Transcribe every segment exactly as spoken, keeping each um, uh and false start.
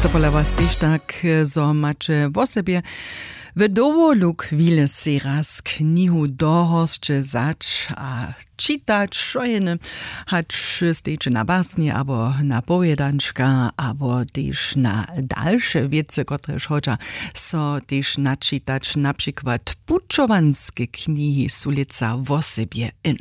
To pola was tež tak, zo maće wosebje w dowolu chwile sej raz knihu do hosće wzać a čitać, šojene, hač stejiće na basni abo na powědančka abo tež na dalše wěcy, kotrež hodźa so tež načitać, na přikład pućowanske knihi su lětsa wosebje in.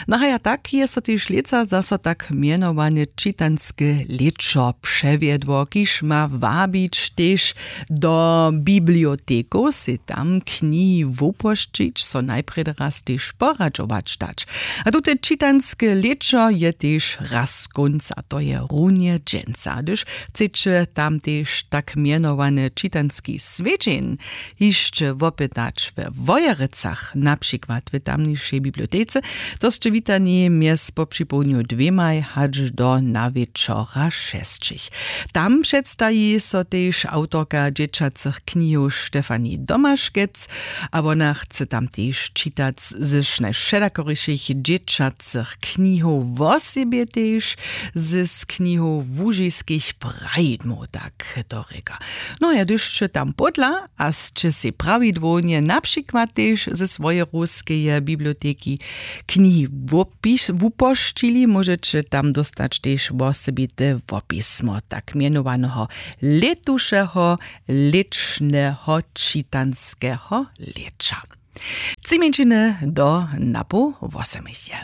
No haja tak je so tež lětsa zaso tak mjenowane čitanske lěćo přewjedło, kiž ma wabić tež do bibliotekow, sej tam knihi wupošćić, so najprjedy raz tež poradźować dać. A tute čitanske lěćo je tež raz kónc, a to je runje dźensa. Hdyž chceće tam tež tak mjenowane čitanski swjedźeń hišće wopytać we Wojerecach, na přikład w tamnišej bibliotece, to sće witani mjez popřipołdnju dwěmaj hač do nawječora šesćich. Tam předstaji so tež awtorka dźěćacych knihow Štefani Domaškec, a wona chce tam tež čitac z najwšelakorišich dźěćacych knihow, wosebje tež z knihow łužiskich prajdmow, tak to rěka. No ja, hdyž sće tam pódla a sće sej prawidłownje na přikład tež ze swojej ruskeje biblioteki knihi wopis-, wupošćili, móžeće tam dóstać tež wosebite wopismo tak mjenowaneho lětušeho lěčneho čitanského lěća. Tři mjeńšiny do napoł wosomich je.